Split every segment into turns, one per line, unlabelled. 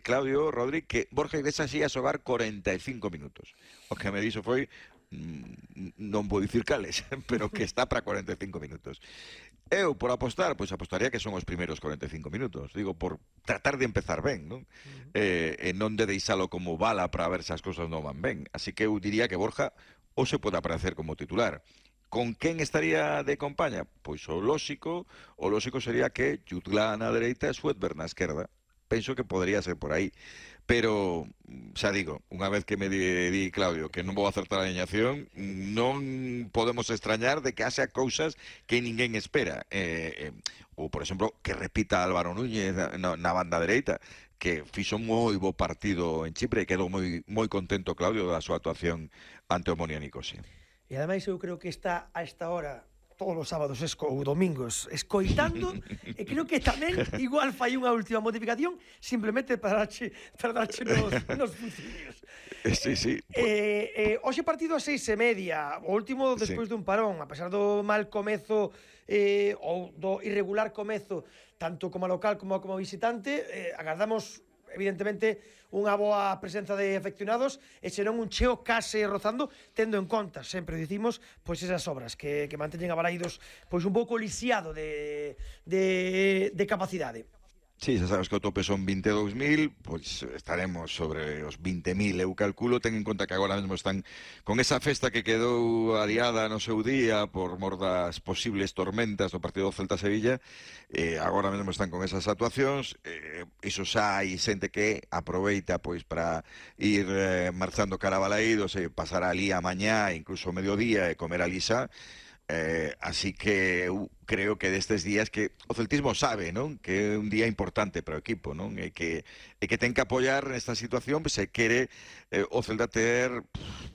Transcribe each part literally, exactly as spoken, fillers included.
Claudio, Rodri, que Borja Iglesias ia xogar cuarenta y cinco minutos. O que me dixo foi, mm, non vou dicir cales, pero que está para cuarenta y cinco minutos. Eu, por apostar, pois apostaría que son os primeiros cuarenta y cinco minutos. Digo, por tratar de empezar ben, non? Uh-huh. Eh, e non de deixalo como bala para ver se as cousas non van ben. Así que eu diría que Borja ou se pode aparecer como titular. Con quen estaría de compaña? Pois o lóxico, o lóxico sería que Jutglà na dereita e Sweatberg na esquerda. Penso que podría ser por aí. Pero, xa digo, unha vez que me di, di Claudio que non vou acertar a alineación, non podemos extrañar de que haxa cousas que ninguén espera. Eh, eh, ou, por exemplo, que repita Álvaro Núñez na, na banda dereita, que fixo moi bo partido en Chipre e quedou moi, moi contento Claudio da súa actuación ante o Omonia Nicosia.
E ademais eu creo que está a esta hora todos os sábados esco, ou domingos escoitando e creo que tamén igual fai unha última modificación simplemente para darche, para darche nos, nos funcionarios.
Sí, sí.
Eh, eh, hoxe partido a seis e media, o último despois sí. dun parón, a pesar do mal comezo eh, ou do irregular comezo tanto como local como como visitante, eh, agardamos evidentemente unha boa presenza de afeccionados e senón un cheo case rozando, tendo en conta, sempre dicimos, pois esas obras que, que manteñen a Balaídos pois un pouco lisiado de, de, de capacidade.
Sí, xa sabes que o tope son vinte e dous mil, pois estaremos sobre os vinte mil, eu calculo, ten en conta que agora mesmo están con esa festa que quedou adiada no seu día por mor das posibles tormentas do partido do Celta-Sevilla, eh, agora mesmo están con esas actuacións, eh, iso xa hai xente que aproveita pois para ir eh, marchando cara a Balaídos e pasar ali a mañá, incluso o mediodía e comer ali xa. Eh, así que eu creo que destes días que o celtismo sabe, non? Que é un día importante para o equipo, non? E que, e que ten que apoiar nesta situación, pois se quere eh, o Celta ter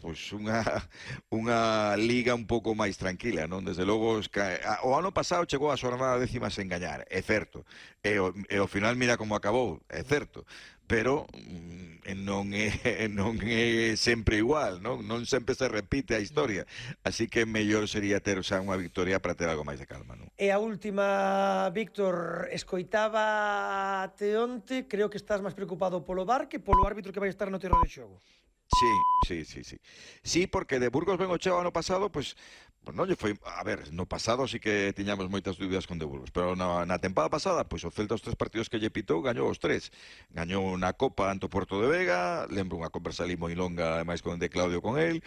pois unha, unha liga un pouco máis tranquila, non? Desde logo, o ano pasado chegou a xornada décima sen gañar, é certo, e o, e ao final mira como acabou, é certo, pero non é, non é sempre igual, non? Non sempre se repite a historia, así que mellor sería ter xa unha victoria para ter algo máis de calma, non?
E a última, Víctor, escoitaba te onte, creo que estás máis preocupado polo V A R que polo árbitro que vai estar no terreno de xogo.
Sí, sí, sí, sí. Sí, porque de Burgos ben o cheo ano pasado, pois, pues, non lle foi, a ver, no pasado sí que tiñamos moitas dúbidas con de Burgos, pero na, na tempada pasada, pois o Celta os tres partidos que lle pitou, gañou os tres. Gañou na Copa ante o Porto de Vega, lembro unha conversa ali moi longa, ademais con de Claudio con el,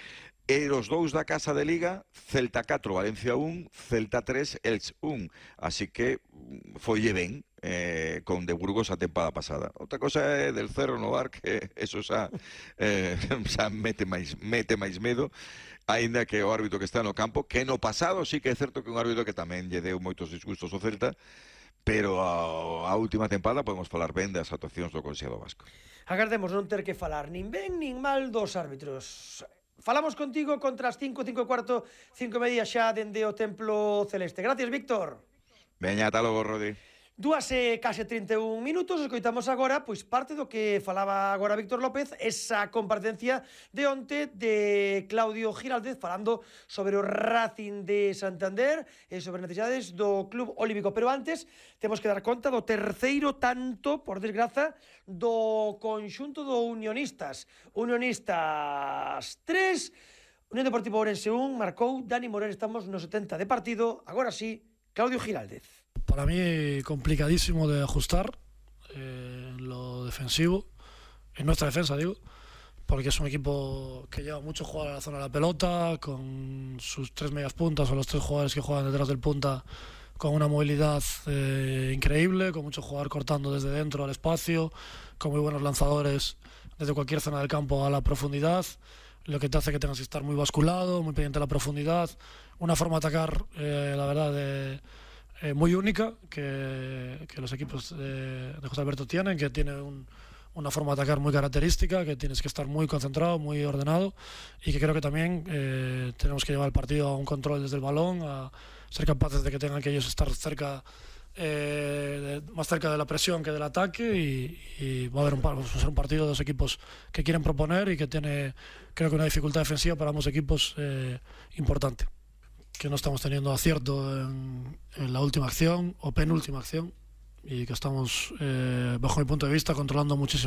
e os dous da casa de Liga, Celta catro, Valencia un, Celta tres, Elx un. Así que foille ben, eh, con de Burgos a tempada pasada. Outra cosa é del Cerro no V A R, que eso xa, eh, xa mete máis, mete máis medo, aínda que o árbitro que está no campo, que no pasado sí que é certo que un árbitro que tamén lle deu moitos disgustos ao Celta, pero a, a última tempada podemos falar ben das actuacións do Consello Vasco.
Agardemos non ter que falar nin ben nin mal dos árbitros. Falamos contigo contra as cinco, cinco e cuarto, cinco e media xa dende o Templo Celeste. Gracias, Víctor.
Veña, ata logo, Rodi.
Dúas e case trinta e un minutos, escoitamos agora pois parte do que falaba agora Víctor López, esa comparecencia de onte de Claudio Giraldez falando sobre o Racing de Santander e sobre necesidades do Club Olímpico. Pero antes temos que dar conta do terceiro tanto, por desgraza, do conxunto do Unionistas. Unionistas tres, Unión Deportiva Ourense un, marcou Dani Moreno, estamos no setenta de partido, agora sí, Claudio Giraldez.
Para mí complicadísimo de ajustar eh, en lo defensivo, en nuestra defensa digo, porque es un equipo que lleva mucho jugar a la zona de la pelota, con sus tres medias puntas o los tres jugadores que juegan detrás del punta con una movilidad eh, increíble, con mucho jugador cortando desde dentro al espacio, con muy buenos lanzadores desde cualquier zona del campo a la profundidad, lo que te hace que tengas que estar muy basculado, muy pendiente de la profundidad, una forma de atacar, eh, la verdad, de... Eh, muy única que, que los equipos de, de José Alberto tienen, que tiene un, una forma de atacar muy característica, que tienes que estar muy concentrado, muy ordenado y que creo que también eh, tenemos que llevar el partido a un control desde el balón, a ser capaces de que tengan que ellos estar cerca, eh, de, más cerca de la presión que del ataque y, y va a haber un, va a ser un partido de dos equipos que quieren proponer y que tiene creo que una dificultad defensiva para ambos equipos eh, importante. Que no estamos teniendo acierto en, en la última acción o penúltima acción y que estamos, eh, bajo mi punto de vista, controlando muchísimo